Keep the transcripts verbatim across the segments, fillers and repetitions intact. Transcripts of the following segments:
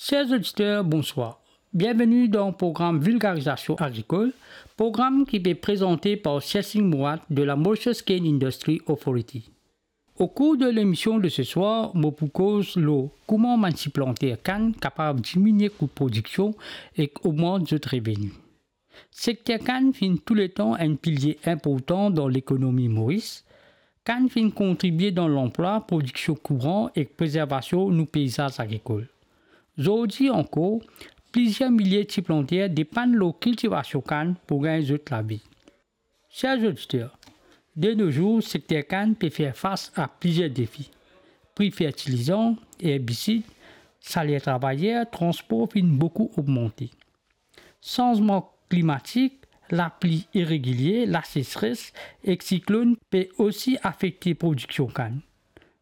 Ser zoditer, bonswar. Bienveni dan program Vilgarizasion Agrikol, program ki pe prezante par Sersing Mouat de la Mauritius Cane Industry Authority. Au cours de lemision de seswar, mo pou koz lor kouma bann ti planter kann kapav diminie kou prodiksion ek ogmant zot reveni. Sekter kann finn touletan enn pilie inportan dan lekonomi Moris. Kann finn kontribie dan lanplwa, prodiksion kouran ek prezervasion nou peizaz agrikol. Zordi ankor, plizier milie ti planter depann lor kiltivasion kann pou gagn zot lavi. Ser zoditer, de no zour, sekter kann pe fer fas a plizier defi. Pri fertilizan, erbisid, saler travayer, transpor finn boukou ogmante. Sanzman klimatik, lapli iregilie, lasesres ek siklonn pe osi afekte prodiksion kann.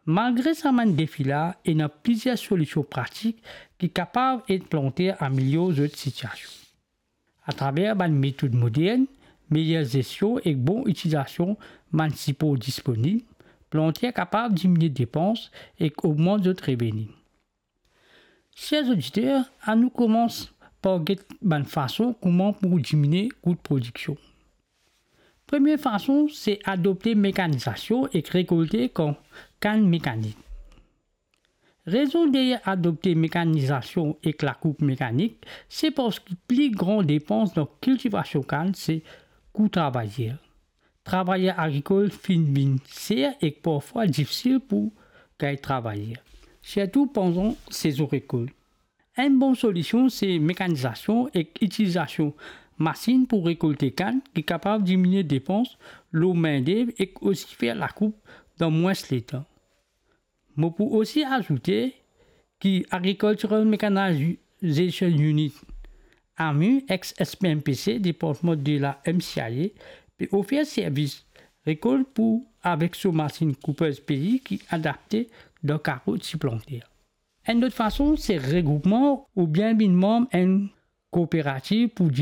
Malgre sa bann defi la, ena plizier solision pratik ki kapav ed planter amelior zot sitiasion. Atraver bann metod modern, meyer zestion ek bon itilizasion bann sipor disponib, planter kapav diminie depans ek ogmant zot reveni. Ser zoditer, anou koumans par get bann fason kouma pou diminie kou prodiksion. Premie fason, se adopte mekanizasion ek rekolte kan-, kann mekanik. Rezon deryer adopte mekanizasion ek lakoup mekanik, se parski pli gran depans dan kiltivasion kann se kou travayer. Travayer agrikol finn vinn ser ek parfwa difisil pou gagn travayer, sirtou pandan sezon rekolt. Enn bon solision se mekanizasion ek itilizasion masinn pou rekolte kann ki kapav diminie depans lor mindev ek osi fer lakoup dan mwins letan. Mo pou osi azoute ki Agricultural Mechanization Unit, AMU, ex S P M P C, departman de la M C I A, pe ofer servis rekolt pou avek so masinn koupez pei ki adapte dan karo ti planter. Enn lot fason, se regroupman oubien vinn manm enn kooperativ pou